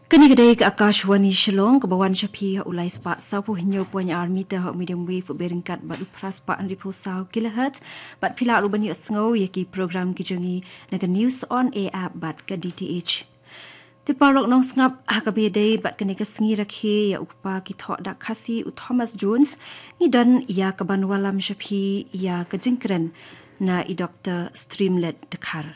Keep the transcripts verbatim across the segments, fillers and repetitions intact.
Kane ka dei ka Akashvani Shillong, kaba wan sha phi ha u lai spah saw phew hynñiew point ar meter ha u medium wave u byrngkat bad u phra spah hynriew phew saw kilohertz, bad phi lah ruh ban ïohsngew ïa ki program ki jong ngi na ka News on Air app bad ka D T H. Te paralok nongsngap, ha kaba ïadei bad kane ka sngi rakhe ïa u kpa ki thoh dak Khasi u Thomas Jones, ngi don ïa ka ban wallam sha phi ïa ka jingkren na i Doktor Streamlet Dkhar.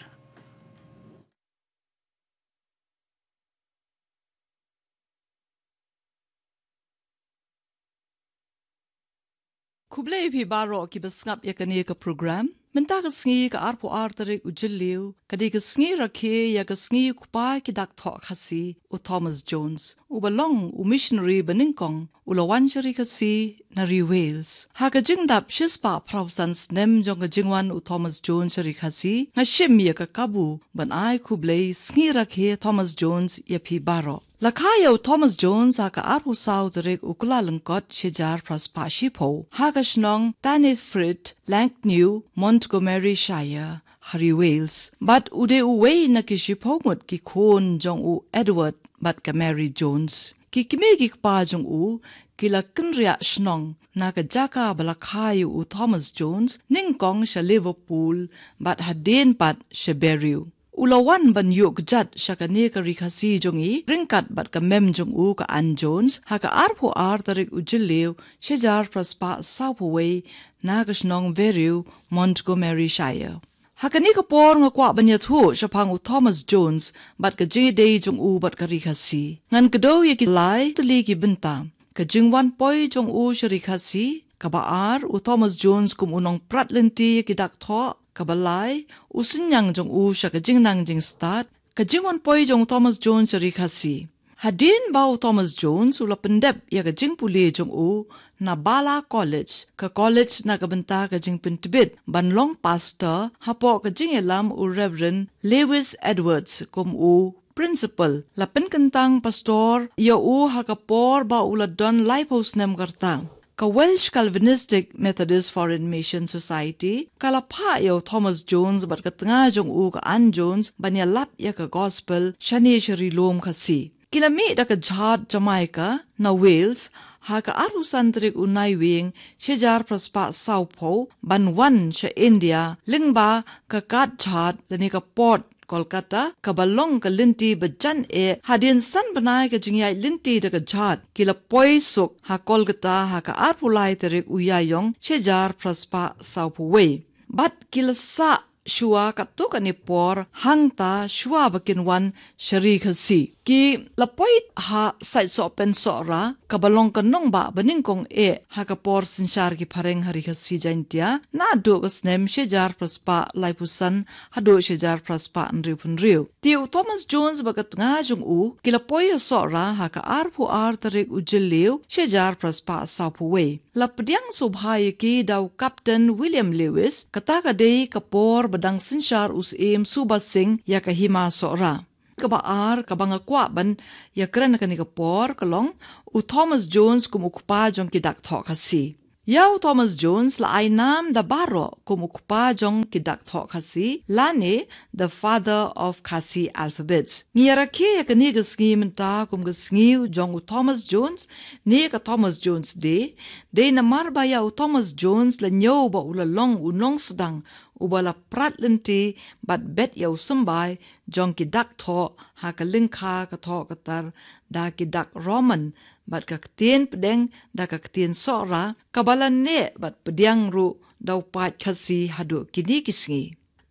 Khublei phi baroh kiba sngap ïa kane ka program. Mynta ka sngi ka arphew ar tarik u Jylliew, ka dei ka sngi rakhe ïa ka sngi u kpa ki dak thoh Khasi, u Thomas Jones, uba long u missionary ba nyngkong u la wan sha ri Khasi na ri Wales. Ha ka jingdap shispah phra phew san snem jong ka jingwan u Thomas Jones sha ri Khasi, nga shim ïa ka kabu ban ai khublei sngi rakhe Thomas Jones ïa phi baroh. La kha ïa u Thomas Jones ha ka arphew saw tarik u Kyllalyngkot shi hajar phra spah shiphew ha ka shnong Tanyfrid, Langnew, Montgomeryshire, ha ri Wales. Bad u dei uwei na ki shiphew ngut ki khun jong u Edward bad ka Mary Jones. Ki kmie ki kpa jong u ki la kynriah shnong na ka jaka ba la kha ïa u Thomas Jones, nyngkong sha Liverpool bad hadien pat sha Berriew. U la wan ban ïuh kjat sha kane ka ri Khasi jong ngi ryngkat bad ka mem jong u ka Ann Jones ha ka arphew ar tarik u Jylliew shi hajar phra spah saw phew wei na ka shnong Berriew, Montgomeryshire. Ha kane ka por nga kwah ban ïathuh shaphang u Thomas Jones bad ka jingïadei jong u bad ka ri Khasi. Ngan kdew ïa ki lai tylli ki bynta. Ka jingwan poi jong u sha ri Khasi. Kaba ar, u Thomas Jones kum u nongprat lynti ïa ki dak thoh. Kaba lai, u synñiang jong u sha ka jingnang jingstad. Ka jingwan poi jong u Thomas Jones sha ri Khasi. Hadien ba u Thomas Jones u la pyndep ïa ka jingpule jong u na Bala College, ka college na ka bynta ka jingpyntbit ban long pastor, hapoh ka jingïalam u Reverend Lewis Edwards kum u principal, la pynkyntang pastor ïa u ha ka por ba u la don laiphew snem ka rta. Ka Welsh Calvinistic Methodist Foreign Mission Society ka la phah ïa u Thomas Jones bad ka tnga jong u ka Ann Jones ban ïalap ïa ka gospel shane sha ri lum Khasi. Ki la mih da ka jhad Jamaica na Wales ha ka arphew san tarik u Naiwieng shi hajar phra spah saw phew ban wan sha India lyngba ka kad jhad lane ka port Kolkata, kaba long ka lynti ba jan eh. Hadien san bnai ka jingïaid lynti da ka jhad, ki la poi suk ha Kolkata ha ka arphew lai tarik u Ïaïong shi hajar phra spah saw phew wei. Bad ki la sah shuwa katto katne por hangta shuwa ba kin wan sha ri Khasi. Ki la poi ha Saitsohpen Sohra, kaba long ka nongbah ba nyngkong eh ha ka por synshar ki phareng ha ri Khasi Jaiñtia, naduh ka snem shi hajar phra spah laiphew san haduh shi hajar phra spah hynriew phew hynriew. Te u Thomas Jones bad ka tnga jong u ki la poi ha Sohra ha ka arphew ar tarik u Jylliew shi hajar phra spah saw phew wei. La pdiang sngewbha ïa ki da u Captain William Lewis, kata ka dei ka por ba dang synshar u Syiem Suba Singh ïa ka hima Sohra. Kaba ar, kaba nga kwah ban ïakren ha kane ka por ka long u Thomas Jones kum u kpa jong ki dak thoh Khasi. Ïa u Thomas Jones la ai nam da baroh kum u kpa jong ki dak thoh Khasi lane the father of Khasi alphabet. Ngi ïarakhe ïa kane ka sngi mynta kum ka sngi jong u Thomas Jones ne ka Thomas Jones Day, dei namar ba ïa u Thomas Jones la ñiew ba u la long u nongsdang uba la prat lynti bad bet ïa u symbai jong ki dak thoh ha ka lyngkha ka thoh ka tar da ki dak Roman bad ka ktien pdeng da ka ktien Sohra, kaba la neh bad pdiang ruh da u paid Khasi haduh kine ki sngi.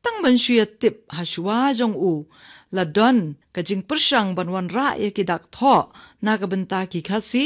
Tang ban shu ïatip, ha shuwa jong u la don ka jingpyrshang ban wanrah ïa ki dak thoh na ka bynta ki Khasi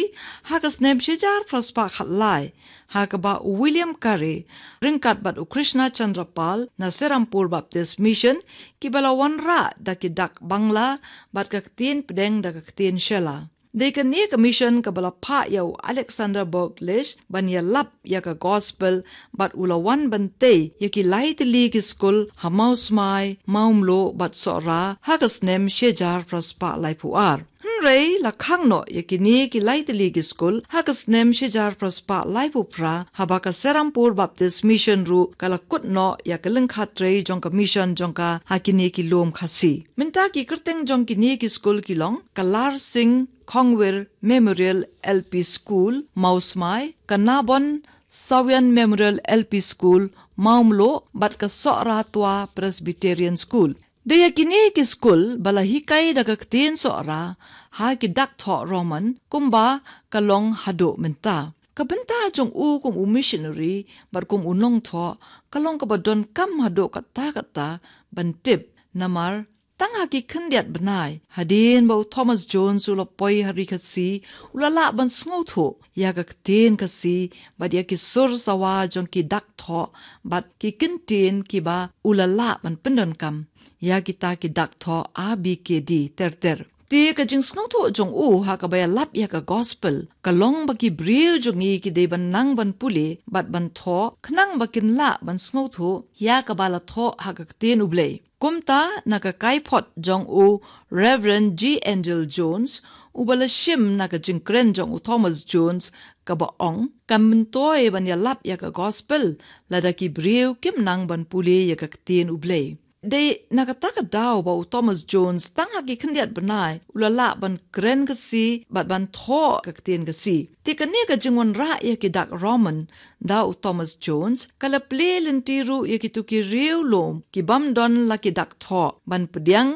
ha ka snem shi hajar phra spah khatlai, ha kaba u William Carey ryngkat bad u Krishna Chandra Pal na Serampore Baptist Mission kiba la wanrah da ki dak Bangla bad ka ktien pdeng da ka ktien Shella. Dei kane ka mission kaba la phah ïa u Alexander Boglish ban ïalap ïa ka gospel bad u la wan ban tei ïa ki lai tylli ki skul ha Mawsmai, Mawmluh bad Sohra ha ka snem shi hajar phra spah laiphew ar. Hynrei la khang noh ïa kine ki lai tylli ki skul ha ka snem shihajar phra spah laiphew phra, haba ka Serampore Baptist Mission ruh ka la kut noh ïa ka lyngkha trei jong ka mission jong ka ha kine ki lum Khasi. Mynta ki kyrteng jong kine ki skul ki long ka Larsing Khongwir Memorial L P School, Mawsmai, ka Nabon Sawian Memorial L P School, Mawmluh, bad ka Sohra Twa Presbyterian School. Da ïa kine ki skul ba la hikai da ka ktien Sohra ha ki dak thoh Roman, kumba ka long haduh mynta. Ka bynta jong u kum u missionary bad kum u nongthoh ka long kaba donkam haduh katta katta ban tip, namar tang ha ki khyndiat bnai hadien ba u Thomas Jones u la poi ha ri Khasi, u la lah ban sngewthuh ïa ka ktien Khasi bad ïa ki sur sawa jong ki dak thoh bad ki kyntien kiba u la lah ban pyndonkam ïa kita ki dak thoh A B K D ter ter. Te ka jingsngewthuh jong u ha kaba ïalap ïa ka gospel ka long ba ki briew jong ngi ki dei ban nang ban pule bad ban thoh, khnang ba kin lah ban sngewthuh ïa kaba la thoh ha ka ktien U Blei. Kumta, na ka kaiphod jong u Reverend G Angel Jones, uba la shim na ka jingkren jong u Thomas Jones, kaba ong, kan myntoi ban ïalap ïa ka gospel lada ki briew kim nang ban pule ïa ka ktien U Blei. Dei na kata ka daw ba u Thomas Jones tang ha ki khyndiat bnai u la lah ban kren Khasi bad ban thoh ka ktien Khasi. Te kane ka jingwanrah ïa ki dak Roman da u Thomas Jones ka la plie lynti ruh ïa kito ki riewlum ki bym don la ki dak thoh ban pdiang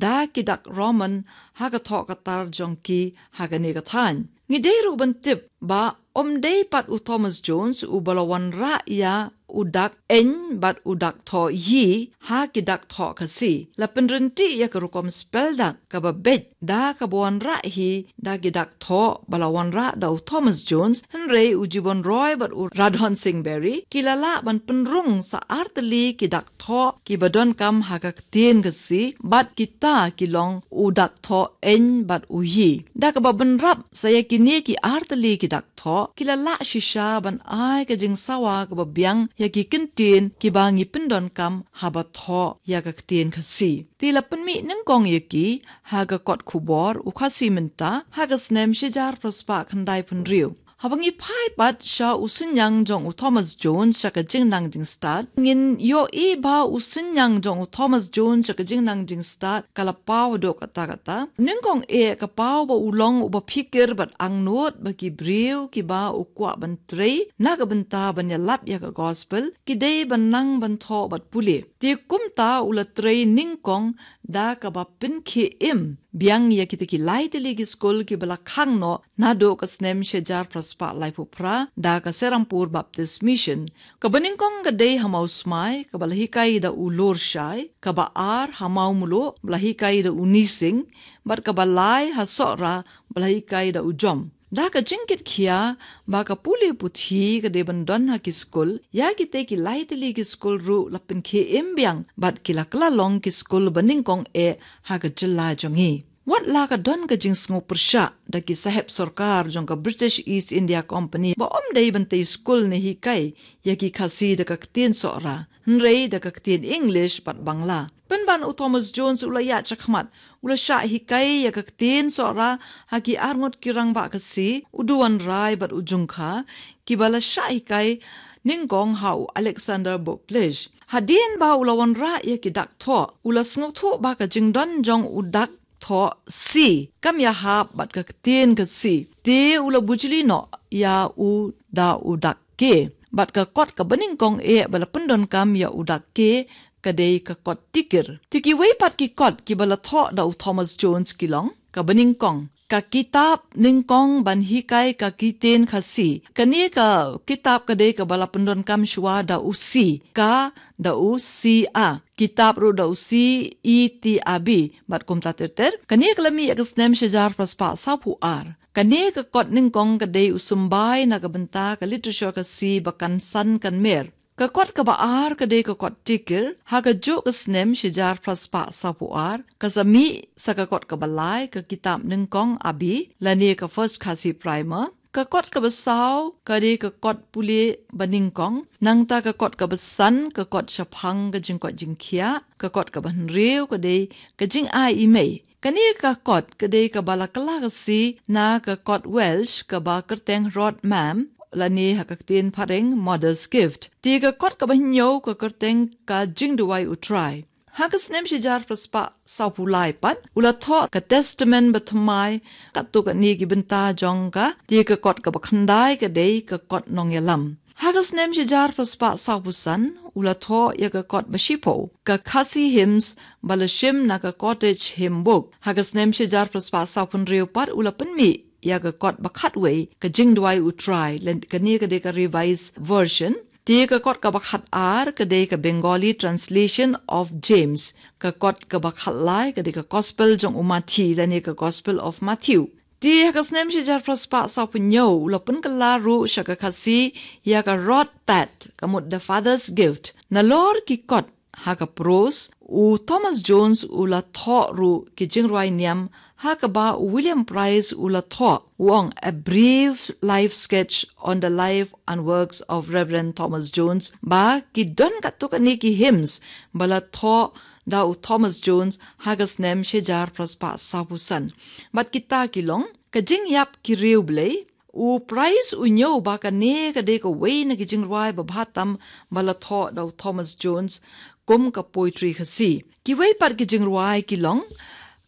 da ki dak Roman ha ka thoh ka tar jong ki ha kane ka thaiñ. Ngi dei ruh ban tip ba ym dei pat u Thomas Jones uba la wanrah ïa u dak ñ bad u dak thoh yi ha ki dak thoh Khasi. La pynryntih ïa ka rukom spell dak kaba beit da kaba wanrah hi da ki dak thoh ba la wanrah da u Thomas Jones, hynrei u Gibbon Roy bad u Radhon Singh Berry ki la lah ban pynrung sa ar tylli ki dak thoh kiba donkam ha ka ktien Khasi, bad kita ki long u dak thoh ñ bad u yi. Da kaba bynrap sa ïa kine ki ar tylli ki dak thoh, ki la lah shisha ban ai ka jingsawa kaba biang ïa ki kyntien kiba ngi pyndonkam haba thoh ïa ka ktien Khasi. Te la pynmih nyngkong ïa ki ha ka kot khubor U Khasi Mynta ha ka snem shihajar phra spah khyndai phew hynriew. Haba ngi phai pat sha u synñiang jong u Thomas Jones sha ka jingnang jingstad, ngin ïohi ba u synñiang jong u Thomas Jones sha ka jingnang jingstad ka la paw haduh katta katta. Nyngkong eh ka paw ba u long uba phikir bad angnud ba ki briew kiba u kwah ban trei na ka bynta ban ïalap ïa ka gospel ki dei ban nang ban thoh bad pule. Te kumta u la trei nyngkong da kaba pynkhie im biang ïa kita ki lai tylli ki skul kiba la khang noh naduh ka snem shihajar phra spah laiphew phra da ka Serampore Baptist Mission. Kaba nyngkong ka dei ha Mawsmai, kaba la hikai da u Lurshai, kaba ar ha Mawmluh, ba la hikai da u Nising, bad kaba lai ha Sohra, ba la hikai da u Jom. Da ka jingkitkhia ba ka pule puthi ka dei ban don ha ki skul, ïa kita ki lai tylli ki skul ruh la pynkhie im biang bad ki la kylla long ki skul ba nyngkong eh ha ka jylla jong ngi. Wat la ka don ka jingsngew pyrshah da ki sahep sorkar jong ka British East India Company ba ym dei ban tei skul ne hikai ïa ki Khasi da ka ktien Sohra, hynrei da ka ktien English bad Bangla. Pynban u Thomas Jones u la ïaid shakhmat, u la shah hikai ïa ka ktien Sohra ha ki arngut ki rangbah Khasi, u Duwanrai bad u Jungkha, kiba la shah hikai nyngkong ha u Alexander Booklist. Hadien ba u la wanrah ïa ki dak thoh, u la sngewthuh ba ka jingdon jong u dak thoh si kam ïahap bad ka ktien Khasi. Te u la bujli noh ïa u da u dak ke. Bad ka kot kaba nyngkong eh ba la pyndonkam ïa u dak ke ka dei ka kot tikir. Te kiwei pat ki kot kiba la thoh da u Thomas Jones ki long, kaba nyngkong, ka kitab nyngkong ban hikai ka ktien Khasi. Kane ka kitab ka dei kaba la pyndonkam shuwa da u C, ka da u C A. Kitab ruh da u C E T A B. Bad kumta ter ter. Kane ka la mih ïa ka snem shihajar phra spah sawphew ar. Kane ka kot nyngkong ka dei u symbai na ka bynta ka literature Khasi ba kan san kan mer. Ka kot kaba ar ka dei ka kot tikir, ha kajuh ka snem shihajar phra spah sawphew ar, ka sa mih sa ka kot kaba lai ka kitab nyngkong A B, lane ka First Khasi Primer, Ka kot kaba saw ka dei ka kot pule ba nyngkong, nangta ka kot kaba san ka kot shaphang ka jingkoit jingkhiah, ka kot kaba hynriew ka dei ka jingai i mei. Kane ka kot ka dei kaba la kylla ka sngi na ka kot Welsh kaba kyrteng Rhodd Mem, lane ha ka ktien phareng Mother's Gift. Te ka kot kaba hynñiew ka kyrteng ka Jingduwai U Trai. Ha ka snem shihajar phra spah sawphew lai pat u la thoh ka Testament bathymmai, katto katne ki bynta jong ka. Te ka kot kaba khyndai ka dei ka kot nongïalam. Ha ka snem shihajar phra spah sawphew san u la thoh ïa ka kot ba shiphew, ka Khasi Hymns, ba la shim na ka Cottage Hymn Book. Ha ka snem shihajar phra spah sawphew hynriew pat u la pynmih ïa ka kot ba khatwei, ka Jingduwai U Trai, lane kane ka dei ka Revised Version. Te ka kot kaba khatar ka dei ka Bengali Translation of James, ka kot kaba khatlai ka dei ka Gospel jong u Mathi, lane ka Gospel of Matthew. Te ha ka snem shihajar phra spah sawphew hynñiew u la pynkylla ruh sha ka Khasi ïa ka Rhodd Tad, ka mut The Father's Gift. Nalor ki kot ha ka prose, u Thomas Jones u la thoh ruh ki jingrwai niam, ha kaba u William Pryce u la thoh, u ong, A Brief Life Sketch on the Life and Works of Reverend Thomas Jones, ba ki don katto katne ki hymns ba la thoh da u Thomas Jones ha ka snem shihajar phra spah sawphew san. Bad kita ki long, ka Jingïap ki Riewblei, u Pryce u ñiew ba kane ka dei kawei na ki jingrwai babha tam ba la thoh da u Thomas Jones kum ka poetry Khasi. Kiwei pat ki jingrwai ki long,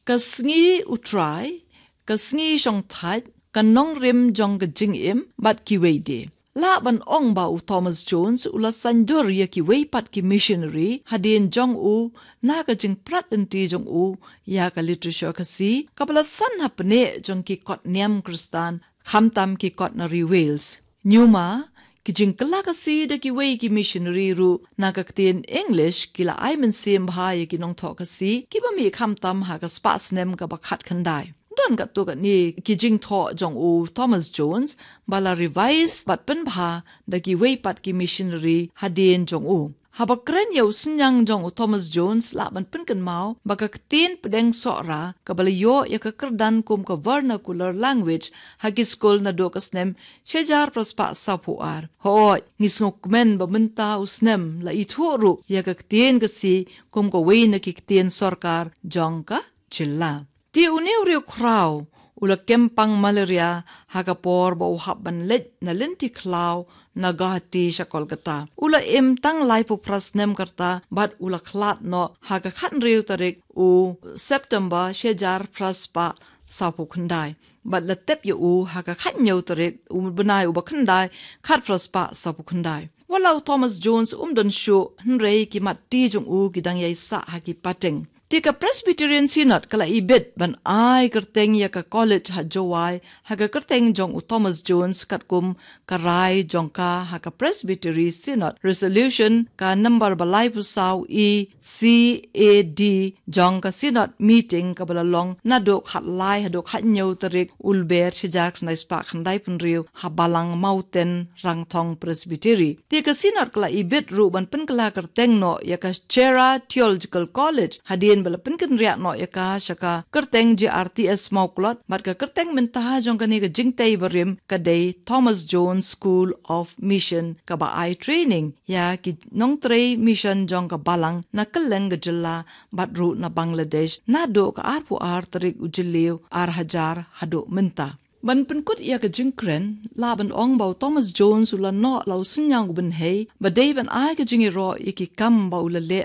ka Sngi U Trai, ka Sngi Shongthait, ka Nongrim jong ka Jingim, bad kiwei de. Lah ban ong ba u Thomas Jones u la saiñdur ïa kiwei pat ki missionary hadien jong u, na ka jingprat lynti jong u ïa ka literature Khasi, kaba la san hapdeng jong ki kot niam Khristan, khamtam ki kot na ri Wales. Ñiuma, ki jingkylla Khasi da kiwei ki missionary ruh na ka ktien English ki la ai mynsiem bha ïa ki nongthoh Khasi kiba mih khamtam ha ka spah snem kaba khatkhyndai. Don katto katne ki jingthoh jong u Thomas Jones ba la revise bad pynbha da kiwei pat ki missionary hadien jong u. Haba kren ïa u synñiang jong u Thomas Jones, lah ban pynkynmaw ba ka ktien pdeng Sohra kaba la ïoh ïa ka kyrdan kum ka vernacular language ha ki skul naduh ka snem shihajar phra spah sawphew ar. Hooid, ngi sngewkmen ba mynta u snem la ithuh ruh ïa ka ktien Khasi kum kawei na ki ktien sorkar jong ka jylla. Te une u riewkhraw u la kem pang malaria ha ka por ba u hap ban leit na lynti khlaw na Guwahati sha Kolkata. U la im tang laiphew phra snem ka rta bad u la khlad noh ha ka khathynriew tarik u September shihajar phra spah sawphew khyndai. Bad la tep ïa u ha ka khathynñiew tarik u bnai uba khyndai, khatphra spah sawphew khyndai. Wat la u Thomas Jones um don shuh, hynrei ki mat ti jong u ki dang ïai sah ha ki pateng. Te ka Presbyterian Synod ka la ibit ban ai kyrteng ïa ka college ha Jowai ha ka kyrteng jong u Thomas Jones katkum ka rai jong ka ha ka Presbytery Synod Resolution ka number ba laiphew saw E C A D jong ka Synod Meeting kaba la long naduh khatlai haduh khathynñiew tarik u Lber shihajar khyndai spah khyndaiphew hynriew ha Balang Mawten Rangthong Presbytery. Te ka Synod ka la ibit ruh ban pynkylla kyrteng noh ïa ka Chera Theological College hadien ba la pynkynriah noh ïa ka sha ka kyrteng J R T S Mawklot, bad ka kyrteng mynta jong kane ka jingtei barim ka dei Thomas Jones School of Mission, kaba ai training ïa ki nongtrei mission jong ka Balang na kylleng ka jylla bad ruh na Bangladesh naduh ka arphew ar tarik u Jylliew ar hajar haduh mynta. Ban pynkut ïa ka jingkren, lah ban ong ba u Thomas Jones u la noh la u synñiang u bynhei ba dei ban ai ka jingïaroh ïa ki kam ba u la leh